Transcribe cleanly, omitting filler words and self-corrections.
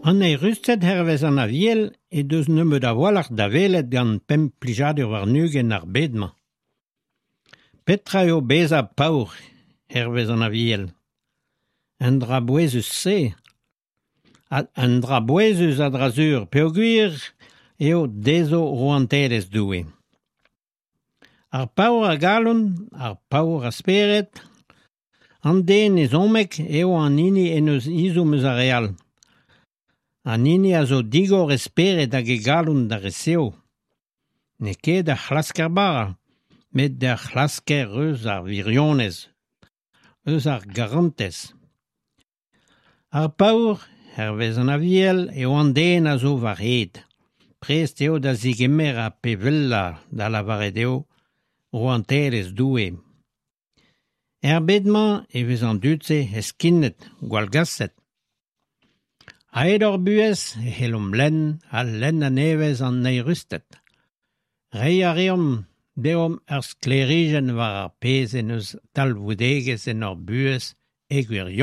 An eürusted hervez an Aviel he deus nebeut a-walc'h da welet gant pemp plijadur warn-ugent ar bed-mañ. Petra eo bezañ paour hervez an Aviel ? Un dra bouezus-se. Un dra bouezus a-dra-sur peogwir eo dezho rouantelezh Doue. Ar paour a galon, ar paour a spered, an den ezhommek eo an hini en deus ezhomm eus ar re all. An hini a zo digor e spered hag e galon da resev. N'eo ket ar c'hlasker bara, met ar c'hlasker eus ar wirionez, eus ar garantez. Ar paour, hervez an Aviel, eo an den a zo war-hed. Prest eo da zegemer ar pep wellañ, da lavaret eo rouantelezh Doue. Er bed-mañ e vez an dud-se heskinet, gwallgaset. A-hed hor buhez e c'hellomp lenn ha lenn a-nevez an eürusted. Reiñ a reont deomp ur sklêrijenn war ar pezh en deus talvoudegezh en hor buhez e gwirionez.